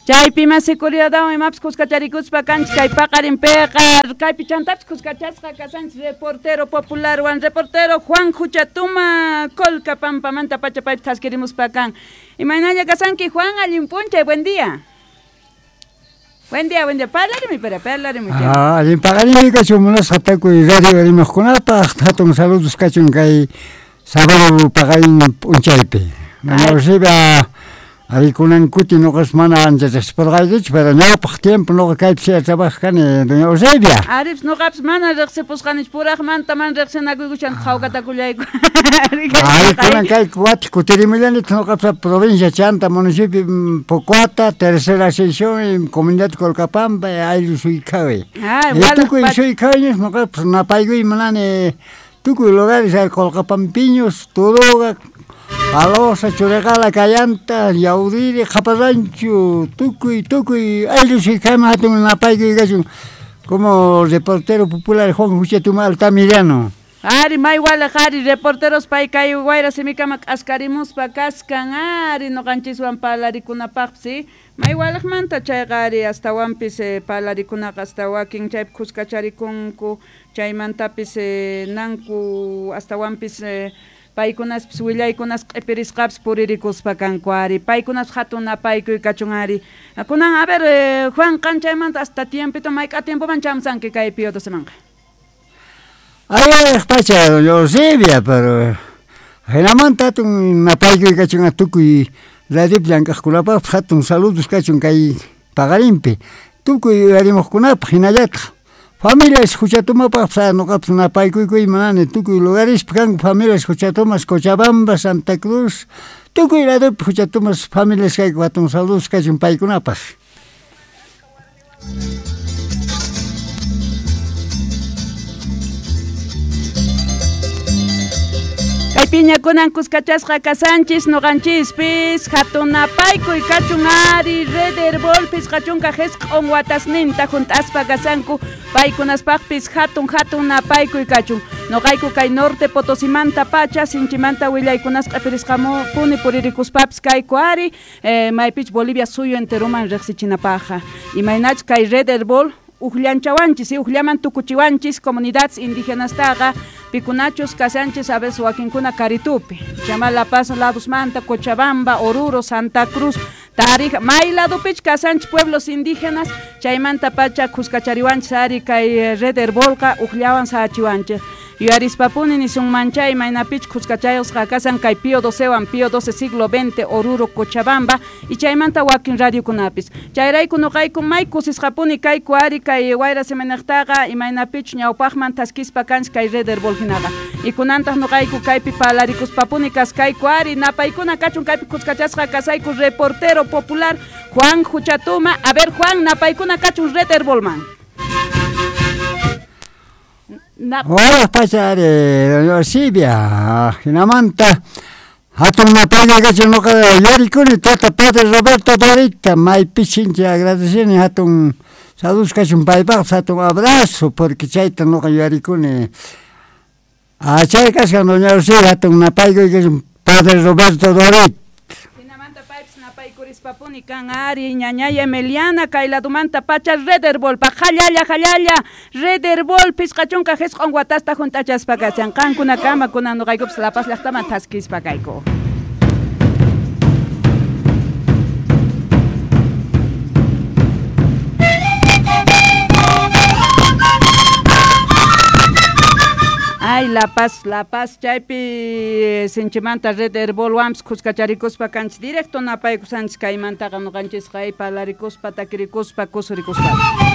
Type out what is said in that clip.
Chaypi mas seguridadwan imapis kuskacharikuspa kanchik kay paqarinpiqa kaypi chantapis kuskachasqa kasanchik reportero popularwan reportero Juan Juchatuma Colca Pampamanta pacha paypi thaskirimuspa kan. Imaynalla kasanki Juan, allin p'unchay, buen día. Buen día, buen día. Parlarimi, pero parlarimi. Ah, allin paqarinmi kachun munasqa tukuy radio rimaqkunapaq hatun saludos kachun kay sábado paqarin p'unchaypi. Doña Eusebia arikunan kuti noqas mana ancha riqsipurqaykichu, pero ñawpaq tiempo noqa kaypi siya trabajaq kani doña Eusebia. Aripis noqapis mana riqsipusqanichu, puraqmanta mana riqsinakuykushan qhawkatakullayku. Ari kunan kay wati kutirimullanitaq noqapis provincia chanta municipio Pocoata, tercera sección, comunidad Colcapampa, ayllu Suykawi. Tukuy Suykawiños noqapis napaykuy munani tukuy lugares hay Colcapampiños, Turuga, Palosa, Churiqala, Cayanta, Yaudiri, Qhaparranchu, tukuy tukuy ayllu Suykawiman hatun napaykuy kachun como reportero popular Juan Juchatuma Altamirano. Ari may walej ari reporteros pay kay wayra simikama k'askarimuspa kaskan ari noqanchiswan parlarikunapaqpis may walejmanta chayqa ari astawanpis parlarikunaqa hasta wakin chaypi kuskacharikunku chaymantapis nanku astawanpis paykunaspis willaykunas q'ipirisqapis puririkuspa kanku ari paykunas hatun napaykuy kachun ari kunan a ver Juan qan chaymanta hasta tiempito mayk'a tiempoman chamsanki kay Pío Docemanqa. Ay, pacha, doña Eusebia, pero hinamanta hatun napaykuy kachun tukuy radiopi llank'aqkunapaqpis hatun saludos kachun kay paqarinpi tukuy uyarimuqkunapaq hinallataq familias Juchatumapaqpis noqapis napaykuykuy munani tukuy lugarespi kanku familias Juchatumas Cochabamba, Santa Cruz, tukuy ladopi Juchatumas familias kayku hatun saludos kachun paykunapaq. Kaypiña kunan kuskachasqa kasanchis noqanchispis hatun napaykuy kachun ari Red Herbol pisqachunka jisq'un watasninta junt'aspa kasanku paykunaspaqpis hatun hatun napaykuy kachun noqayku kay norte Potosimanta pacha sinchimanta willaykunas q'ipirisqamupuni puririkuspapis kayku ari maypich Bolivia suyu enteroman riqsichinapaqqa imaynach kay Red Herbol ujllanchawanchis ujllaman tukuchiwanchis comunidades indígenastaqa pikunachus kasanchis a veces wakinkuna Karitupi, chama La Paz ladosmanta, Cochabamba, Oruro, Santa Cruz, Tarija, may ladopich kasanchis pueblos indígenas, chaymanta pacha kuskachariwanchis ari kay Red Herbolqa ujllawan sahachiwanchis. Yuarispapuni nisunmanchay maynapich kuskachayusqa kasan kay Pío Docewan, Pío XII siglo XX, Oruro, Cochabamba, y chaymanta wakin radiokunapis. Chayrayku noqayku may kusisqapuni kayku ari kay wayra semanaqtaqa imaynapich ñawpaqman thaskispa kanchik kay Red Herbol hinaqa. Y kunantaq noqayku kaypi parlarikuspapuni kaskayku ari napaykuna kachun kaypi kuskachasqa kasayku reportero popular Juan Juchatuma. A ver Juan, napaykuna kachun Red Herbolman. Hola, pacha ari, doña Eusebia, hinamanta hatun napaykuy kachun noqa yuyarikuni tata padre Roberto Dorita, maypi sinchi agradecini hatun saludos kachun paypaqpis hatun abrazo porque chayta noqa yuyarikuni. Chay kashan doña Eusebia hatun napaykuy kachun padre Roberto Dorit. Napaykurispapuni kan ari ñañay Emiliana kay ladumanta pacha Red Herbolpa jallalla jallalla Red Herbol pisqachunka jisq'un watasta junt'achaspa kashan qankunakama kunan noqaykupis La Paz llaqtaman thaskispa kayku. Ay, La Paz, La Paz, chaypi sinchimanta Red Herbolwanpis kuskacharikuspa kanchis directo napaykusanchis kaymantaqa noqanchisqa ay parlarikuspa takirikuspa kusurikuspa.